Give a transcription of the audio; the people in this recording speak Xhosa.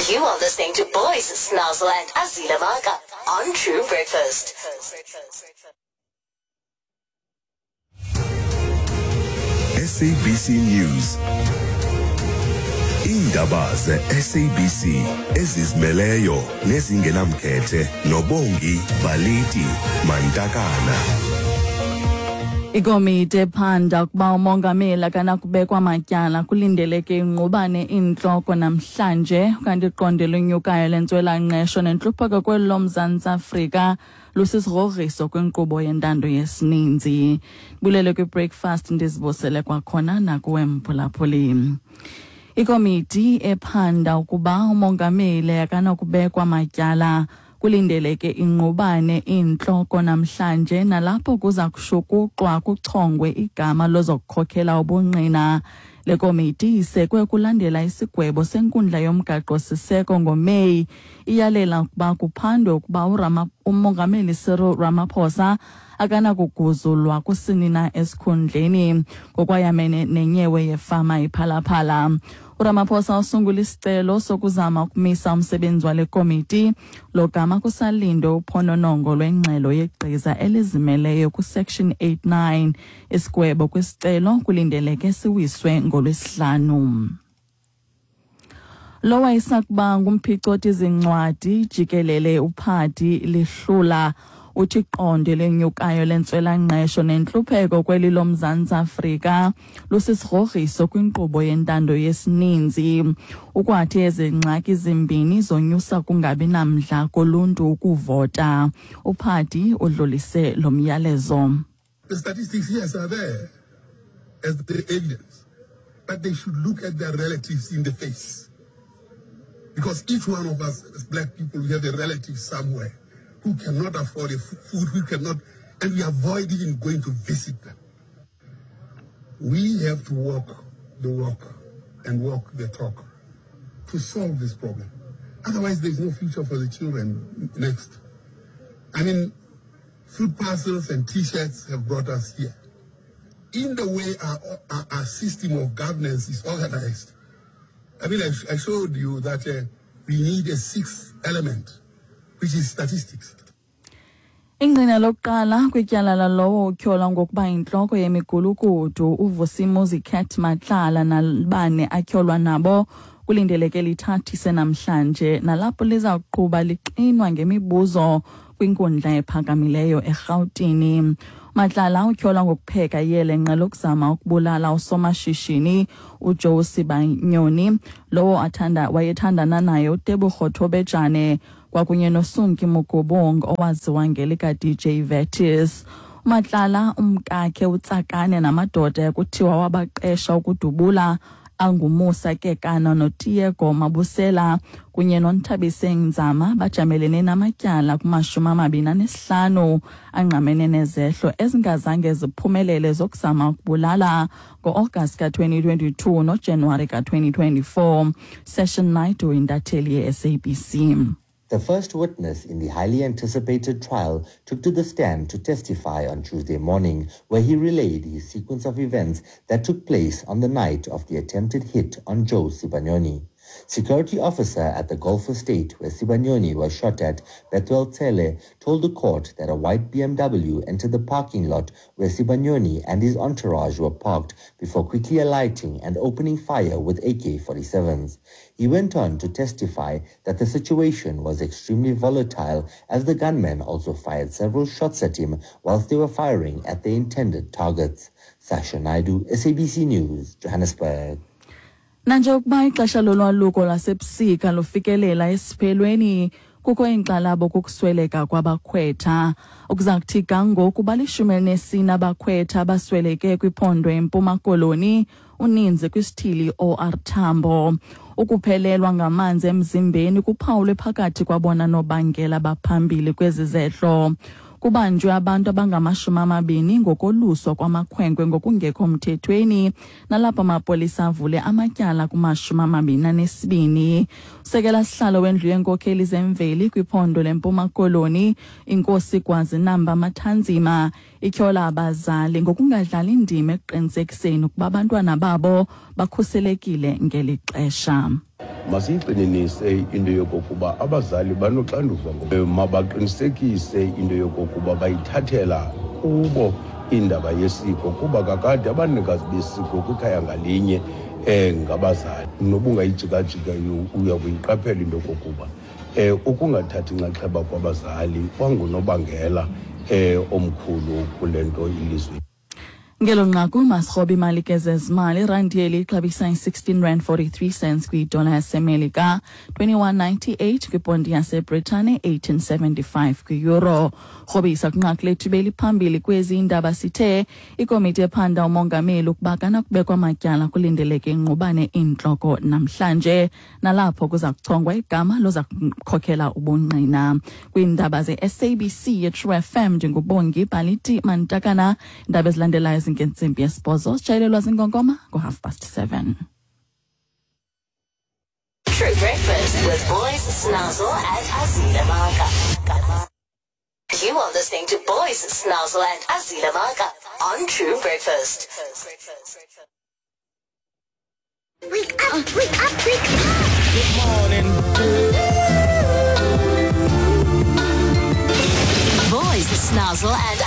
You are listening to Boys Snazzle and Azila Maka on True Breakfast. SABC News. Iindaba ze-SABC ezizimeleyo nezingenamkhethe noBongi Baliti Mantakana. Ikomiti ephanda ukuba umongameli akanakubekwa matyala kulindeleke ingqubane iintloko namhlanje, kanti iqondo elinyukayo lentswelangqesho nentlupheko kweli loMzantsi Afrika lusisigrogriso kwinkqubo yentando yesininzi. Bulele kwi-breakfast, ndizibusele kwakhona nakuwe mphulaphuli. Ikomiti ephanda ukuba umongameli akanakubekwa matyala kulindeleke ingqubane iintloko namhlanje, nalapho kuza kushukuxwa kuchongwe igama lozokukhokhela ubungqina. Le komiti isekwe kulandela isigwebo senkundla yomgaqo-siseko ngoMeyi, iyalela ukuba kuphandwe ukuba umongameli Cyril Ramaphosa akanakuguzulwa kusini na esikhundleni ngokwayamene nenyewe yefama iPhalaphala. URamaphosa usungula isicelo sokuzama ukumisa umsebenzi wale komiti logama kusalindwe uphononongo lwengxelo yegqiza elizimeleyo kwiSection 89. Isigwebo kwisicelo kulindeleke siwiswe ngoLwesihlanu. Lo wayesakuba ngumphicothi zincwadi jikelele uPhadi Lihlula uthi iqondo lenyukayo lentswelangqesho nentlupheko kweli loMzantsi Afrika lusisigrogriso kwinkqubo yentando yesininzi. Ukwathi ezi ngxaki zimbini zonyusa kungabi namdla koluntu ukuvota. UPhadi udlulise lo myalezo. The statistics, yes, are there as the evidence, but they should look at their relatives in the face. Because each one of us as black people, we have a relative somewhere who cannot afford a food, who cannot, and we avoid even going to visit them. We have to walk the walk and walk the talk to solve this problem. Otherwise, there's no future for the children next. Food parcels and T-shirts have brought us here. In the way our system of governance is organized, I showed you that we need a sixth element, which is statistics. Ingqina lokuqala kwityala lalowo utyholwa ngokuba yintloko yemigulukudu uVusimuzi Cat Matlala nabane atyholwa nabo kulindeleke lithathise namhlanje, nalapho liza kuqhuba lixinwa ngemibuzo kwinkundla ephakamileyo eRhawutini. Matlala utyholwa ngokupheka iyelenqe lokuzama ukubulala usomashishini uJoe Sibanyoni, lowo wayethandana naye uTebogo Thobejane, kwakunye noSunki Mugubung owaziwa ngelika DJ Vetis. Matlala umkakhe uTsakane namadoda ekuthiwa wabaqesha ukudubula anguMusa Kekana noTiego Mabusela kunye noNthabiseng Nzama bajamelene namatyala kumashumi amabini anesihlanu angqamene nezehlo ezingazange ziphumelele zokuzama ukubulala ngo-August ka-2022 noJanuwari ka-2024. Session Naidu, intatheli ye-SABC. The first witness in the highly anticipated trial took to the stand to testify on Tuesday morning, where he relayed his sequence of events that took place on the night of the attempted hit on Joe Sibanyoni. Security officer at the golf estate where Sibanyoni was shot at, Bethuel Tele, told the court that a white BMW entered the parking lot where Sibanyoni and his entourage were parked before quickly alighting and opening fire with A K forty-sevens. He went on to testify that the situation was extremely volatile as the gunmen also fired several shots at him whilst they were firing at their intended targets. Sasha Naidu, SABC News, Johannesburg. Nanjengokuba ixesha lolwaluko lwasebusika lufikelela esiphelweni, kukho inkxalabo kukusweleka kwabakhwetha. Ukuza kuthi ga ngoku balishumi elinesine abakhwetha abasweleke kwiphondo eMpuma Koloni, uninzi kwisithili OR Tambo. Ukuphelelwa ngamanzi emzimbeni kuphawulwe phakathi kwabona nobangela baphambili kwezi zehlo. Kubanjwe abantu abangamashumi amabini ngokoluswa kwamakhwenkwe ngokungekho mthethweni, nalapho amapolisa avule amatyala kumashumi amabini anesibini. Usekela sihlalo wendlu yeenkokheli zemveli kwiphondo leMpuma Koloni, iNkosi Gwazinamba Mathanzima, ityhola abazali ngokungadlali indima ekuqinisekiseni ukuba abantwana babo bakhuselekile ngeli xesha. Masiyiqininise into yokokuba abazali banoxanduva, mabaqinisekise into yokokuba bayithathela kubo indaba yesiko, kuba kakade abanikazi besiko kwikhaya ngalinye ngabazali. Noba ungayijikajika uya kuyiqaphela into yokokuba ukungathathi inxaxheba kwabazali kwangunobangela omkhulu kule nto ilizwe. Ngelo nqaku masirhobe imali ke zezimali. Irandi yeli ixabisa i-16 rand 43 cents kwidola yaseMelika, 21.98 kwiponti yaseBritane, 18.75 kwi-euro. Rhobisa kwinqaku lethu beliphambili kwezi indaba, sithe ikomiti ephanda umongameli ukuba kanakubekwa amatyala kulindeleke ingqubane intloko namhlanje, nalapho kuza kuchongwa igama loza kukhokhela ubungqina. Kwiindaba ze-SABC ye-True FM, ndinguBongi Baliti Mantakana. Iindaba ezilandelayo zingentsimbi yesibhozo, sitshayelelwa zinkonkoma ngo-7:30. True Breakfast with Boys Snazzle and Azila Maka. You are listening to Boys Snazzle and Azila Maka on True Breakfast. Wake up, wake up, wake up. Good morning. Boys Snazzle and